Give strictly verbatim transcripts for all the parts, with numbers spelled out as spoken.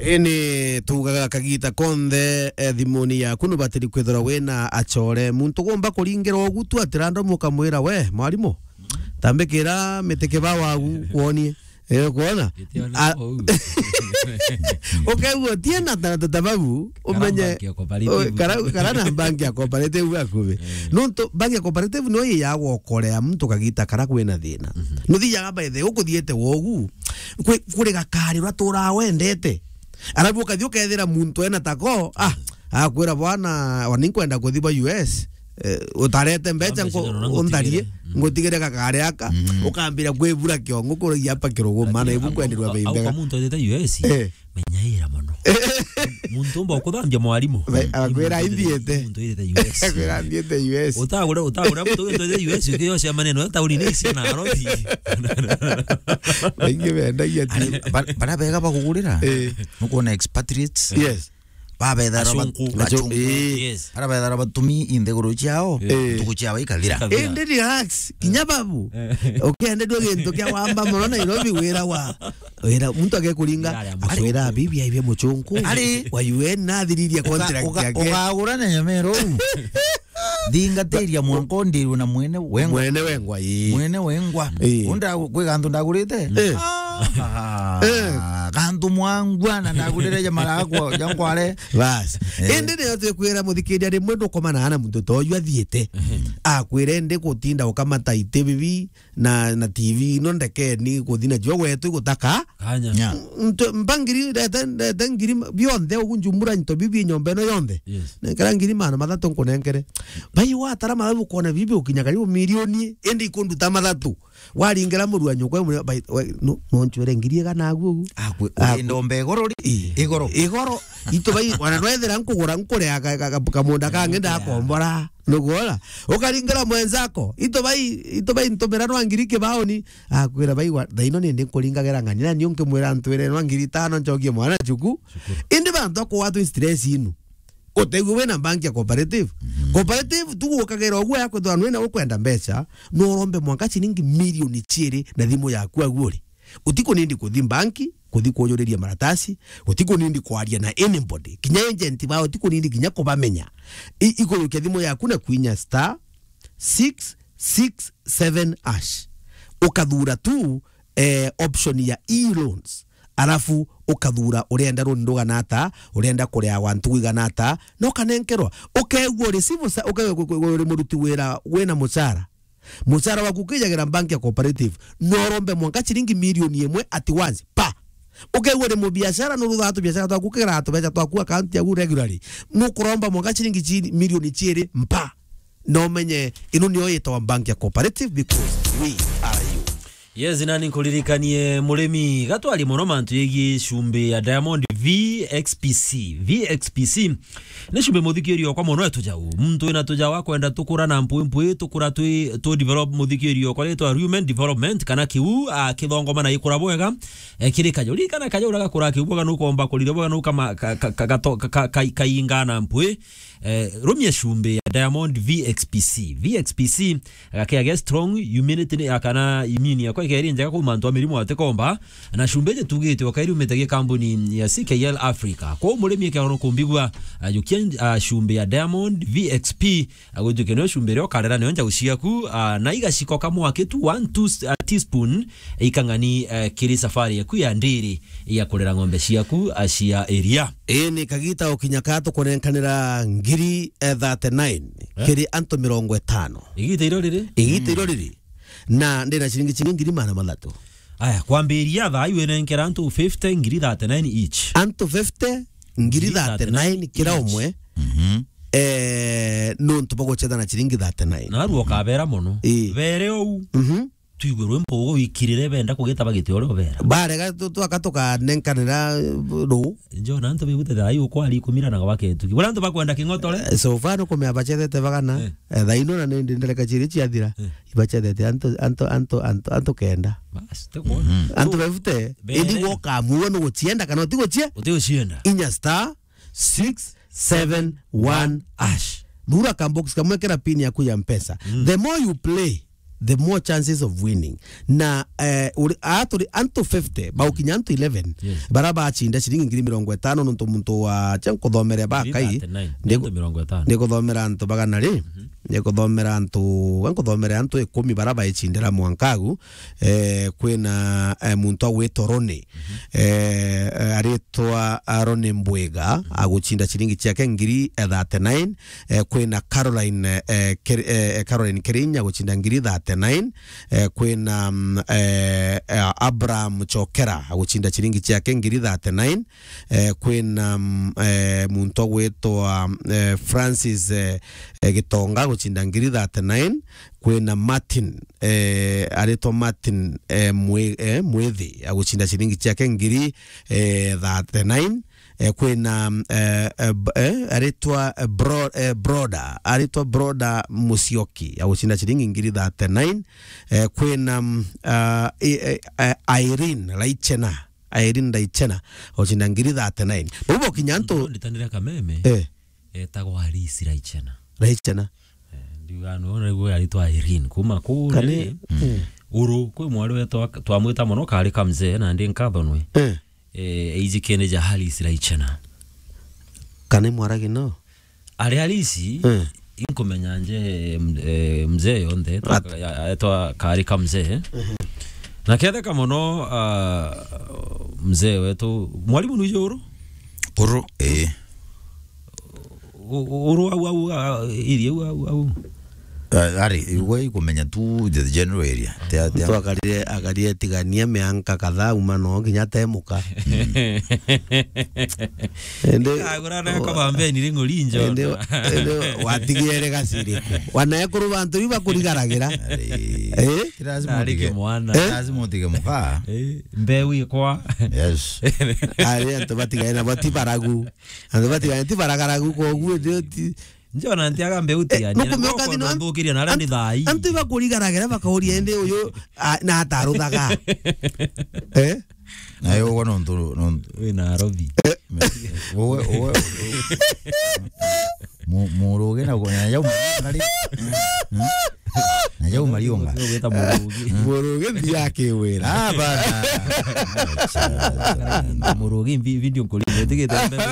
Ini tugaga kagita konthe, eh, thimuni yaku nubatiri kwithirwa wina acore. Muntu gumba kuringira ugu tu ati random ukamwira, "We, mwarimu, tambikira miti kibao agu kwonie." Eh, kwona? Gitiona A- kou. Ukaigua utie na ta, ta, tababu, Kara umenye, bank ya cooperative. O, kara, kara na bank ya cooperative akubi. Eh. Nontu bank ya cooperative no yiyagwa ukorea muntu kagita kara kwina thina. Mhm. Nuthiaga by the way, ukuthiete wogu, kwi, kuri gakari uria turaa wendete. Arabu ukathi ukethira muntu ena tako, ah, akwira, "Bwana, wani nkwenda kuthi ba U S, eh, utarete mbecha." Mbecha nko-, no na undarie, ngutigire. Mm. Ngutigire gakari aka, mm, ukambira kwibura kiongo kuragia apa kirugu, mana ibu kwendirwa au, bei au mbega. Kwa muntu wendete U S, eh, menyaira mono. Muntu umba ukuthambia mwarimu. Bai-, akwira, muntu wendete, aithiete. Muntu wendete U S. Akwira, aithiete U S. Utagure, utagure muntu wendete U S, ukiyocia maneno, tauni ni cia Nairobi. Baingi bendagia tu. Ari, ba-, bara bega bagugurira. Eh. Nukwona expatriates. Yes. Babethara bat-, achunku. Achunku. Eh. Yes. Bara bethara batumi inthiguru ciao, eh, ntuku ciao ikathira. Ikathira. Indi relax, kinya babu. Eh. Ukendedua gintu kia wamba mono Nairobi, wira wa, wira, muntu agekuringa, akwira, "Bibi aibia muchunku." Ari. Wa U N nathiririe contract yake. Uka-, uka-, ukagura na nyamero. Thingatiria mwanka ndirwe na mwene wengwa. Mwene wengwa, ii. Mwene wengwa. Ii. Unda kwi gantu ndagurite? Eh. Ah, eh, gantu mwangwa na ndagurire ja marakwa, ja nkware. Bas. Eh. Indi niyo twikwira muthikiria rimwe ndukomana na muntu toju athiite. Mhm. Akwire ndi gutinda ukamata iti bibi na, na T V ino ndekeni kuthi nacio gwetu igutaka. Kanya. Nya. Ntu-, mpa ngiri, ndete, ndete ngiri ma-, bionthe ugu njumbura into bibi nyomba ino yonthe. Yes. Nenkera ngiri magana mathatu nkunenkere. Bai watara mathabu ukona bibi ukinya karibu milioni, indi ikunduta mathatu. Waringera murua nyukwa, murua, bai, we, no, no ncwere ngiri igana agu ugu. Akwe, ah, urinda ombe igoro ri? Ii. Igoro. Igoro. Itu bai, wana nwethira nkugura, nkurea ka, ka, ka, kamunda kangi ndakombora. Nugwona? Ukaringera mwenzako. Itu bai, itu bai ntumira nwa ngiri kibaoni. Akwira, "Baigwa, thaino nindi nkuringagira ng'ani, nani unkimwira ntwire nwa ngiri itano ncokie mwana cuku?" Cukuru. Indi bantu akugwatwa stress inu. Utegwe wina bank ya cooperative. Mhm. Cooperative, tu gukagira uguo ya kwithirwa nwina ukwenda mbeca, no urombe mwanka ciringi milioni ciiri na thimu yaku aguo ri. Utikunindi kuthi banki, kuthi kujuriria maratasi, utikunindi kwaria na anybody. Kinya agent bao utikunindi kinya kubamenya. I-, ikurukia thimu yaku na kwinya star six six seven hash. Ukathura tu, eh, option ya e-loans. Arafu ukathura urenda runi rugana ata, urenda kureagwa ntugu igana ata, na ukanenkerwa. Ukeegua uri civil sa-, uke-, uri muruti wira wina mucara. Mucara waku ukijagira bank ya cooperative, no urombe mwanka ciringi milioni imwe at once. Pa! Ukeegua uri mubiashara, nuruthaga tubiashara twaku, ukigaraga tubeca twaku account yaku regularly. Nukuromba mwanka ciringi ci-, milioni ciiri mpa. Na umenye, ino niyo yitagwa bank ya cooperative because we are you. Yes, nani nkuririkanie murimi, gatwari mono mantu yegii cumbi ya Diamond V X P C. V X P C ni cumbi muthikiri okwa mono etujau. Muntu wina tujau akwenda tukura na mpwi mpwi, tukura twi, tu develop muthikiri okwa ritwa Human Development, kana kiu, a, kithongoma na ikura bwega, e, kiri kajau. Ririkana kajau ura gakura kiu bwega nukomba kurire bwega nukama, ka, ka, ka, gato-, ka, ka, ka, kainga na mpwi. Eh, rumia cumbi ya Diamond V X P C. V X P C gakea ge strong, immunity ni, kana immune yakwa ikeri njega kuu mantu a mirimu atikomba. Na cumbi iji tugite okairi umite gi kambuni ya C K L Africa. Kwa murimi ekero kumbigua, ajukia, ah, cumbi ya Diamond V X P, agwituke nio cumbi rio karera nio njau ciaku, ah, na igaciko kamwaki tu one, two, ah, teaspoon, ikang'ani, eh, kiri safari yaku ya ndiri ya kurera ng'ombe ciaku, ah, cia iria. Ii, ni kagita ukinya ka tukunenkanira ngiri, eh, thirty-nine, eh, kiri antu mirongo itano. Igita iro riri? Igita iro riri. Na ndina ciringi, ciringi ngiri magana mathatu. Aya, kwambiria thaa iu inenkera antu fifty, ngiri thirty-nine each. Antu fifty, ngiri thirty-nine kira umwe. Mhm. Eh, nontu bagucetha na ciringi thirty-nine. Na aru okabera mono. Ii. Bere ou. Mhm. Twigue rwimbo ugo wikirire benda kugitaba giti uria ubera. Barega tu-, twaka tukanenkanira, eh, ru. Njo na antu bigute thaa iu kwari kumira na gwaketuki. Bora antu bakwenda king'otore. Eh, so far nukumea bacethete bagana. Eh. Eh, thaa ino na nindi ndereka ciiri ciathira. Eh. Ibacethete antu, antu, antu, antu, antu kenda. Bas, te kuona. Mhm. Antu fifty, bere. Indi gwoka muo nugucienda kana utigucie? Utigucienda. Inya star six seven one hash. Thura ka box kamwe kira pin yaku ya Mpesa. Mm. The more you play, the more chances of winning. Na, eh, uri, a turi antu fifty, baukinya antu eleven, Yes. bara bacinda ciringi ngiri mirongo itano nontu muntu wa, cha nkuthomere ba Ngiri kai, thirty-nine, ndiku-, antu mirongo itano. Ndikuthomera antu bagana ri? Mhm. Ndikuthomera antu, we nkuthomere antu ikumi bara baicindira mwankagu, eh, kwina, eh, muntu agwitwa Roni. Mhm. Eh, eh, aritwa, ah, Roni Mbwiga, Mhm. agucinda ciringi ciake ngiri, eh, thirty-nine. Eh, kwina Caroline, eh, Ker-, eh, Caroline Kerinya agucinda ngiri thirty-nine. Eh, kwina, mm, eh, eh, Abraham Chokera agucinda ciringi ciake ngiri thirty-nine. Eh, kwina, mm, eh, muntu agwitwa, eh, Francis, eh, eh, Gitonga agucinda ngiri thirty-nine. Kwina Martin, eh, aritwa Martin, eh, Mwi-, eh, Mwithi agucinda ciringi ciake ngiri, eh, thirty-nine. Eh, kwina, eh, eh, b-, eh, aritwa, eh, Bro-, eh, Broda, aritwa Broda Musyoki agucinda ciringi ngiri thirty-nine. Eh, kwina, mm, ah, i-, eh, eh, Irene Raichena, Irene Raichena agucinda ngiri thirty-nine. Bau bokinya antu Nditanire kameme. Eh. Etagwa Alice Raichena. Raichena. Eh, ndiuga no, niguo aritwa Irene. Kuma kuu Kani, riri, eh. Uru, kwi mwari wetu ak-, twamwita mono kari kamzee, na ndi nkathonwe. Eh. Eh, eijikene ja Alice Raichena. Kani mwaragi no? Ari Alice, Eh. inkumenya nje, m-, eh, mzee yonthe, etwa At- ka-, ya-, etwa kari kamzee. Mhm. Na ketheka mono, ah, mzee wetu, mwalimu nuije uru? Uru, eh. U-, u-, uru au, au, a, iri au, au, au. Ah, ari, we ikumenya tu the general area. Tia, tia. Mtu akarire, akarire tigania mianka kadhaa uma no kinya temuka. Mm. Ende, Agura na o-, kaba mbeni ringo linjo. Ende, ende watigere gaciri ku. Wana ekuru bantu iba kurigaragira. Ari. Eh? Ti lazima Ari utige. Kimwana. Eh? Lazima utige muka. Eh, mbeu ikwa. Yes. Ari antu batigae na bati baragu. Antu batigae ti baragaragu koguo ndio ti Njona nti agambe Eh, utiania. Mukumioka thino an-, nthukiria na aria an-, ni thai. Antu iba kurigaragira bakauria ende uyu, a, na ataruthaga. Eh? Na yo ugo nontu, nontu. Wi na arobi. Eh. Uwe, uwe, uwe. Mu-, muruge na ugo, na yau mariunga ri. Hmm? Na yau mariunga. Uwe wita murugi. Murugi nthi ya kiwira. Ah, bana. Murugi mbi-, video nkuri, ndigite mbere.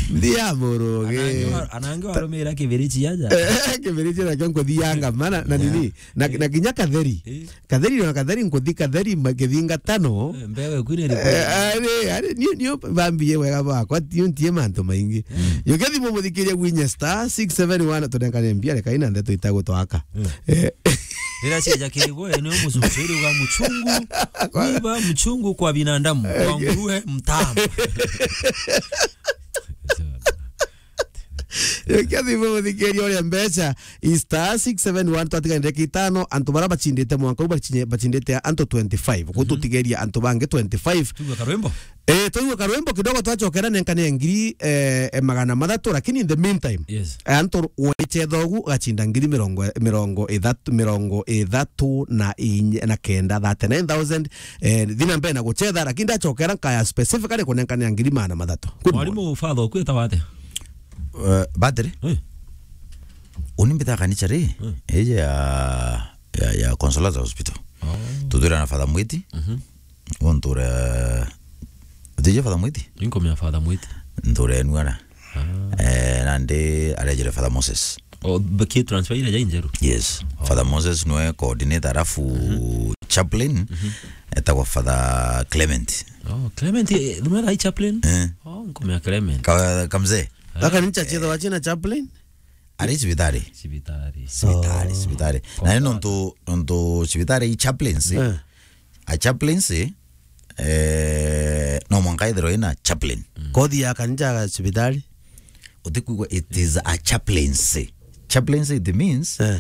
Nthi ya murugi. Anange wa-, anange warumira kibirichi aja. Eh, kibirichi nakio nkuthianga, mana, na Yeah. nini? Na, Eh. na kinya katheri. Eh. Katheri na katheri nkuthi katheri ma-, kithinga tano. Eh, mbewe kwine ri? Eh, ari, ari, niu, niu bambie wega bwakwa, niu ntie mantu maingi. Mm. Yo kethimo muthikiria gwinye star six seven one, tunenkane mbia, reka ina ndeto itagutwaka. Mm. Eh. Rira cieja kirigwe, ni mucucu, iri uga muchungu, mwiba mchungu kwa binadamu, kwa nguruwe mtamu. Yo kethimo muthikiria uria mbeca, i star six seven one, twatiga ndagika itano, antu bara bachindite mwanka u bachinye-, bachindite antu twenty-five. Ku Mhm. tutigeria antu bangi twenty-five. Tuigwe karwimbo? Eh, tuigwe karwimbo kidogo, twachokera nenkane ngiri, eh, eh, magana mathatu, lakini in the meantime, Yes. eh, antu wechetha ugu gachinda ngiri mirongo, mirongo ithatu, mirongo ithatu na inya, na kenda, thirty-nine thousand, eh, thina mbere na guchetha, lakini ndachokera nkaya specifically kunenkane ngiri magana mathatu. Good morning. Mwalimu, father, ukwita wate? Eh, battery? Eh. Uni mbita kanisa ri? Eh. Ije ya, ya, ya Consolata Hospital. Oh. Tutwira na Father Mwiti. Mhm. Untu ura, utije Father Mwiti? Inkomea Father Mwiti. Ntu ura enuara. Ah. Eh, nandi arejere Father Moses. Oh, baki transfer ira ja injeru? Yes. Oh. Father Moses nwe coordinator, alafu Mhm. chaplain, Mhm. etagwa Father Clement. Oh, Clement, eh, nwe rai chaplain? Eh. Oh, nkomea Clement. Ka-, kamzee. Gaka ni cha chetha wachina chaplain? Ari cibitari. Cibitari. Cibitari, Oh. cibitari. Na ni nontu, nontu cibitari i chaplaincy. Eh. A chaplaincy, eh, no mwanka ithirwe ina chaplain. Mm. Kothi ya kanisa ga cibitari? Utikwigua, it is a chaplaincy. Chaplaincy, it means, Eh.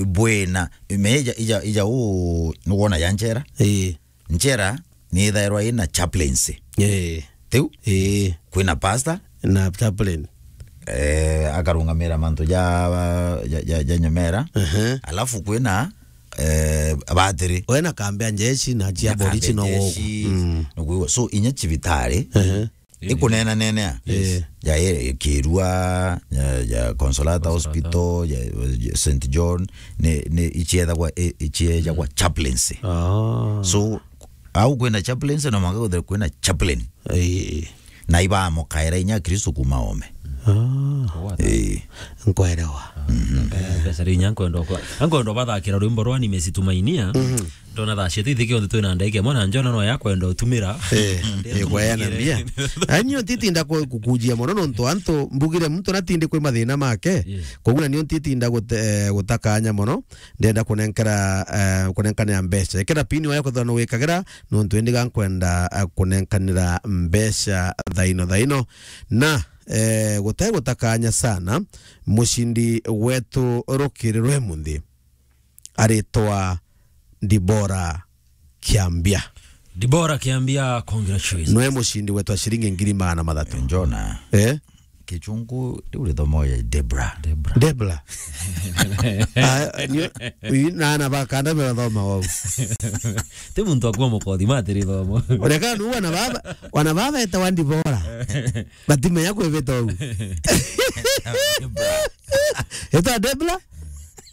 bwina, meja, ija, ija u, nuwona ya njera? Ii. Njera ni ithairwa ina chaplaincy. Ii. Tiu? Ii. Kwina pastor? Na chaplain. Eh, akarungamira mantu ja, ja, ja, ja nyomera. Ehe. Alafu kwina, eh, batiri. Wena kambi ya njeshi na cia Na kambi borichi ya no wogu. jeshi, Mm. nukwigua. So, inya cibitari, Ehe. Ikunena nenea. Yes. Eh. Ya, eh, Kirua, ya, ya Consolata Consolata. Hospital, ya, ya Saint John, ni, ni ichiethagwa, i-, ichiejagwa chaplaincy. Ah. So, au kwina chaplaincy, no mwanka kwithirwa kwina chaplain. Eh. Na ibamukaira inya Kristo kuma oome. Ah. What? Eh. Nkwerewa. Mhm. Eh, pesa ri inya nkwenda kwa. Nkwenda bathakira rwimbo rwa Nimezitumainia. Mhm. Ndona thaa ciethe ithiki onthe twina ndagika imwe na Njona no yakwenda utumira. Eh, eh, kwayana mbia. Anyo ntitinda ku-, kukujia mono nontu antu mbugire muntu natindi kwi mathina make. Yes. Koguo na nio ntitinda gute-, eh, gutakanya mono. Ndenda kunenkera, eh, kunenkanira mbeca. Ikira pini wayo kwithirwa nugikagira, nontu indi ga nkwenda, eh, kunenkanira mbeca thaino thaino. Na, eh, gute gutakanya sana, mucindi wetu rukiri rwe munthi aritwa Dibora Kiambia. Dibora Kiambia, congratulations. Nwe mucindi wetu wa ciringi ngiri magana mathatu. Njona. Eh? Kichungu, riu rithomo ya Debra. Debra. Debra. Ah, ni, uyu na ana ba kanda merathoma wau. Ti muntu akua mukothi, mati rithomo. Ureka nu wana baba, wana baba eta wa Dibora. Batimenya kwibita uu. Eta Debra?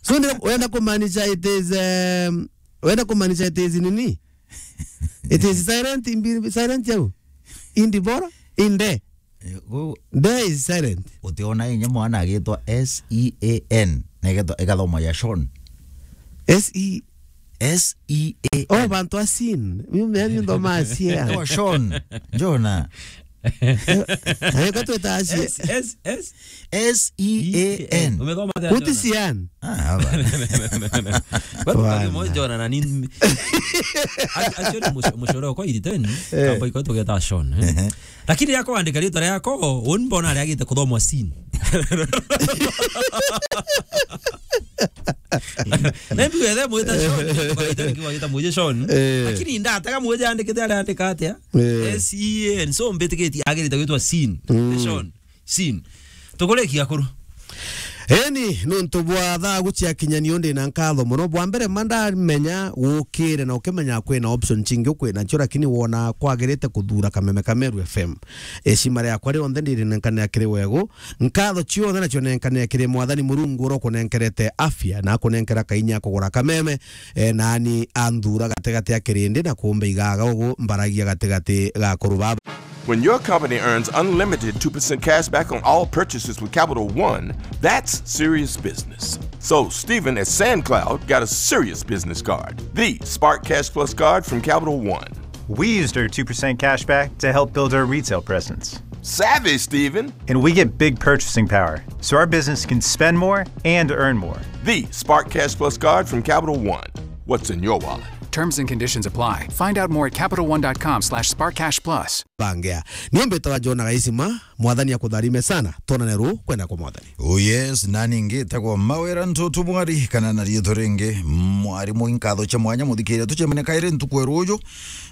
So, ni wenda kumaanisha it is, um, wenda kumaanisha it is nini? It is silent, in be-, silent yau. In Dibora, in de. Eh, gu- De is silent. Utiona inya mwana agitwa S E A N, na igetwa-, igathoma ya Sean. S E S E A N. Oh, bantu a sin. Mimi, mimi ndo ma sin. Etawa Sean. Njona. Eh, eh, ko tweta aci- S, S, S. S E A N. Umethoma atia, Jona? Kuti cian. Ah, haba. Kwa sababu Bwana. Mwe Jona na nini? Actually, mush-, mushore kwa iriten, eh, kamba iko tugeta Sean, eh. Ehe. Lakini yako andika ritwa riako, un mbona ari agite kuthomwa sin. Na mbi wethe mwita Sean, kwa itani kiwa gita mwije Sean. Eh. Lakini ndatega mwije andikite ari andika atia? Eh. S E A N. So, mbitikitie agirite gwitwa Sin. Mm. Sean. Sin. Tukurikia akuru. Eni, nontu bwa thaa guciakinya nio ndi na nkatho mono. Bwa mbere, ma ndamenya gukire na ukimenya kwina option cingi ukwina cio, lakini wona kwagirite kuthura Kameme ka Meru F M. Ecima riakwa rionthe ndirinenkanira kiri wegu. Nkatho cionthe nacio nenkanire kiri Mwathani Murungu uria ukunenkerete afya na akunenkera kainya kugura Kameme. E, nani anthura gatigati ya kirindi na kumba igaga ugu mbaragia gatigati ga akuru baba. When your company earns unlimited two percent cash back on all purchases with Capital One, that's serious business. So, Stephen at SandCloud got a serious business card, the Spark Cash Plus card from Capital One. We used our two percent cash back to help build our retail presence. Savvy, Stephen. And we get big purchasing power, so our business can spend more and earn more. The Spark Cash Plus card from Capital One. What's in your wallet? Terms and conditions apply. Find out more at capital one dot com slash spark cash plus. Bangea. Nio mbitawa Jona Gaisima, Mwathani akutharime sana. Twonane ru kwenda kwa Mwathani. Oh yes, nani ngi tagwa Mawira Ntutu Mwari, kana na riitwa ringi, Mwarimu. Nkatho cia mwanya muthikiria, tucemania kairi ntuku ya ruju,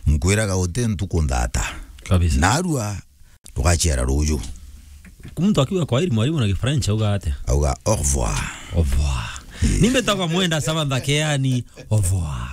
nkwiraga uti ntuku nthata. Kabisa. Narua, tugaciara ruju. Muntu akiuga kwaheri, mwarimu, na Gifrench auga atia? Auga au revoir. Au revoir. Ni mbitagwa Mwenda Samantha Keani, au revoir.